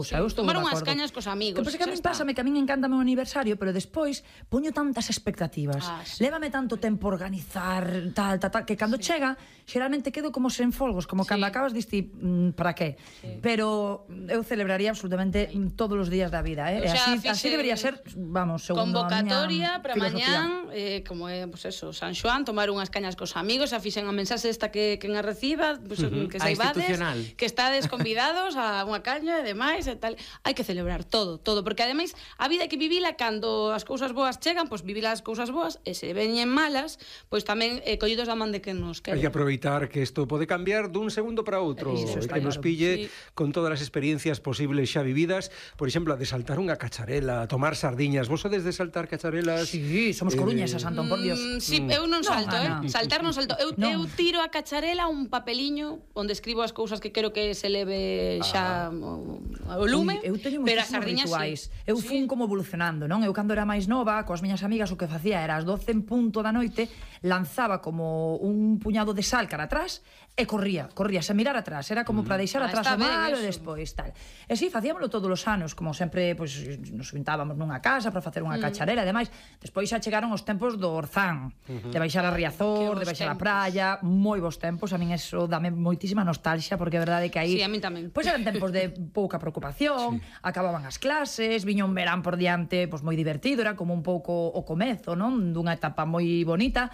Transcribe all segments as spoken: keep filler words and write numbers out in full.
O sea, eu estou tomar de unhas acordo. cañas cos amigos. Que pasa que a mí pásame que a min encanta o meu aniversario, pero despois poño tantas expectativas. Ah, sí. Lévame tanto tempo organizar, tal, tal, tal, que cando sí. chega, xeralmente quedo como sen folgos, como Sí. cando acabas diste, mm, para qué? Sí. Pero eu celebraría absolutamente sí. todos os días da vida, eh? O sea, así, así debería ser, vamos, segundo convocatoria a miña para mañán, eh, como é, pues eso, San Xoán, tomar unhas cañas cos amigos, a fixen a mensaxe esta que quen a reciba, pues, uh-huh. que saibades, que estades convidados a unha caña e demais e tal. Hai que celebrar todo, todo, porque ademais a vida hai que vivila cando as cousas boas chegan, pois vivila as cousas boas, e se veñen malas, pois tamén eh, collidos da man de quen nos quere. Hai que aproveitar que isto pode cambiar dun segundo para outro, e que claro. nos pille sí. con todas as experiencias posibles xa vividas, por exemplo, a de saltar unha cacharela, a tomar sardiñas. Vos sodes de saltar cacharelas? Sí, somos coruñesas, eh... Antón, por Dios. Mm, sí, eu non salto, no, eh? Saltar non salto. Eu, no. eu tiro a cacharela un papeliño onde escribo as cousas que quero que se leve xa ah. o, o lume. Uy, eu teño pero moitísimos rituais. Sí. Eu fun sí. como evolucionando, non? Eu cando era máis nova, coas miñas amigas, o que facía era ás doce en punto da noite, lanzaba como un puñado de sal cara atrás e corría, corría, sen mirar atrás. Era como mm. para deixar ah, atrás o malo e despois, tal. E si, sí, facíamolo todos os anos, como sempre, pois, nos juntábamos nunha casa para facer unha mm. cacharela, ademais, despois xa chegaron os tempos do Orzán, uh-huh. de baixar a Riazor, de baixar a praia, moi bons tempos, a min eso dame moitísima nostalgia, porque é verdade que aí... Sí, a min tamén. Pois eran tempos de pouca preocupación, sí. acababan as clases, viña un verán por diante, pois moi divertido, era como un pouco o comezo, non? Dunha etapa moi bonita.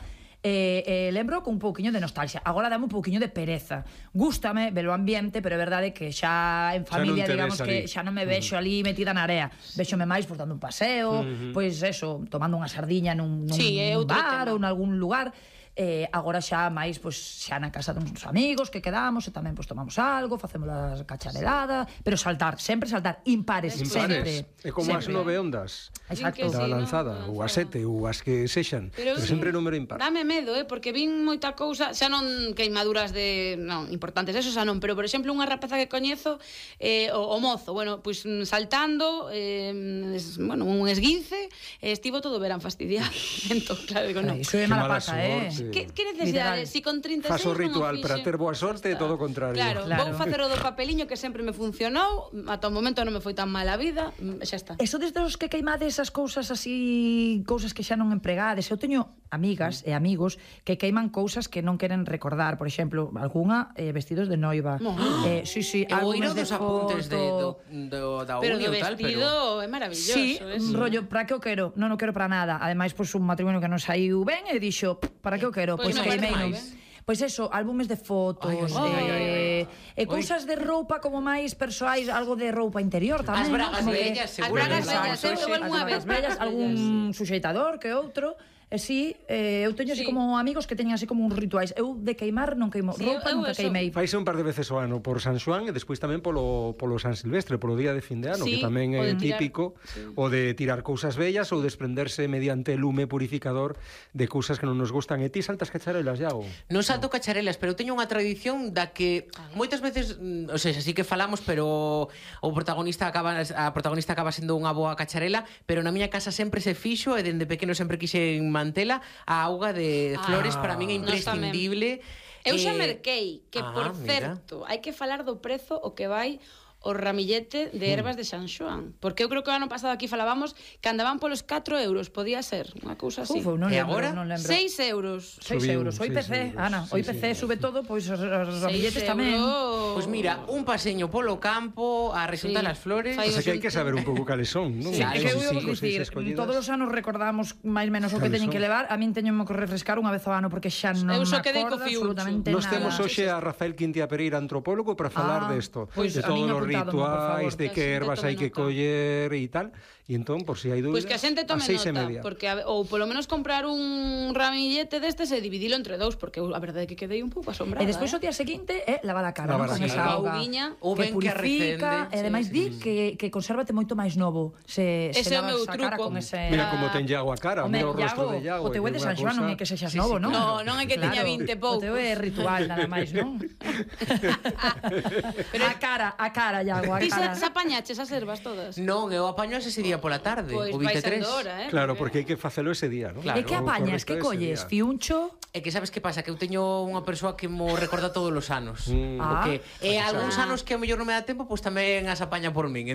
E, eh, lembro con un pouquiño de nostalgia. Agora dame un pouquiño de pereza. Gústame ver o ambiente, pero é verdade que xa en familia, xa digamos que xa non me vexo uh-huh. ali metida na area. Véxome máis por dando un paseo, uh-huh. pois eso, tomando unha sardiña nun, nun, sí, nun bar tema. ou en algún lugar. Eh, agora xa máis pois xa na casa duns amigos que quedamos e tamén pois tomamos algo, facemos a cacharelada, sí. pero saltar, sempre saltar impares, sempre. É como as nove ondas. Exacto. Da lanzada, ou as sete, ou as que sexan, pero, pero sempre número impar. Dame medo, eh, porque vin moita cousa, xa non queimaduras de, non, importantes, eso xa non, pero por exemplo, unha rapeza que coñezo, eh, o, o mozo, bueno, pois pues, saltando, eh, es, bueno, un esguince, eh, estivo todo o verán fastidiado. Entón, claro, digo, non. Iso é mala pata, eh. Que, que necesidade? Si con trinta e seis Faso ritual para ter boa sorte e todo o contrario. Claro, claro, vou facer o do papeliño que sempre me funcionou, ata o momento non me foi tan mal a vida, xa está. Eso desde os que queimades as cousas así, cousas que xa non empregades. Eu teño amigas e amigos que queiman cousas que non queren recordar, por exemplo, algunha eh, vestidos de noiva. No. Eh, sí, sí, álbumes de dos apuntes de, do, do, da pero uni do tal, vestido pero... é maravilloso. Sí, eso. rollo, para que o quero? Non o quero para nada. Ademais, pois pues, un matrimonio que non saiu ben e dixo, para que o quero? Pois pues, queimei. Pois eso, álbumes de fotos, ay, ay, eh, ay, ay, ay. e cousas de roupa como máis persoais, algo de roupa interior tamén. As bragas ¿no? bellas, seguro. As bragas bellas, eu algunha vez. As bellas, algún suxeitador que outro. E si, eh, eu teño así sí. como amigos que teñen así como uns rituais. Eu de queimar non queimo, sí, roupa nunca queimei. Faise un par de veces ao ano por San Xoán e despois tamén polo, polo San Silvestre, polo día de fin de ano, sí, que tamén é típico, sí. o de tirar cousas bellas ou desprenderse mediante lume purificador de cousas que non nos gustan. E ti saltas cacharelas, Iago? Non salto cacharelas, pero teño unha tradición da que moitas veces, o sea, así que falamos, pero o protagonista acaba a protagonista acaba sendo unha boa cacharela, pero na miña casa sempre se fixo e dende pequeno sempre quixen mantela a auga de flores, ah, para min é imprescindible. Eu xa merquei que, ah, por certo, hai que falar do prezo o que vai o ramillete de ervas de San Xoán, porque eu creo que o ano pasado aquí falábamos que andaban polos catro euros, podía ser unha cousa así. Uf, non e lembro, agora? Non lembro. seis euros. seis euros. O I P C, Ana, o I P C sube todo, pois os ramilletes tamén. Pois mira, un paseño polo campo a resultar as flores. O sea que hai que saber un pouco cales son, non? Sí, é que eu vou dicir, todos os anos recordamos máis menos o que teñen que levar. A min teño que refrescar unha vez ao ano porque xa non me acordo absolutamente nada. Nos temos hoxe a Rafael Quintia Pereira, antropólogo, para falar desto, de todos os rituais, de que ervas hai que coller e tal, e entón, por si hai dúbidas, pois que a xente tome nota, porque a, ou polo menos comprar un ramillete destes e dividilo entre dous, porque a verdade é que quedei un pouco asombrada. E despois eh? o día seguinte é lavar a cara, lavar con a esa auga que purifica, e ademais di que, que consérvate moito máis novo se, se lavas a cara con ese... Mira como ten Iago a cara, mira o rostro de Iago. O teu é de San Xoán, non é que sexas novo, non? No, non é que teña vinte poucos. O teu é ritual, nada máis, non? Pero a cara, a cara, Iago, a cara. Ti se apañaches as ervas todas? Non, eu apaño ese día pola tarde, pues o vinte e tres. Hora, eh, claro, porque hai que facelo ese día, non? Claro. E que apañas, que colles, fiuncho? É que sabes que pasa? Que eu teño unha persoa que mo recorda todos os anos. Mm. Porque Ah, e algúns anos que ao mellor non me dá tempo, pois pues tamén as apaña por min.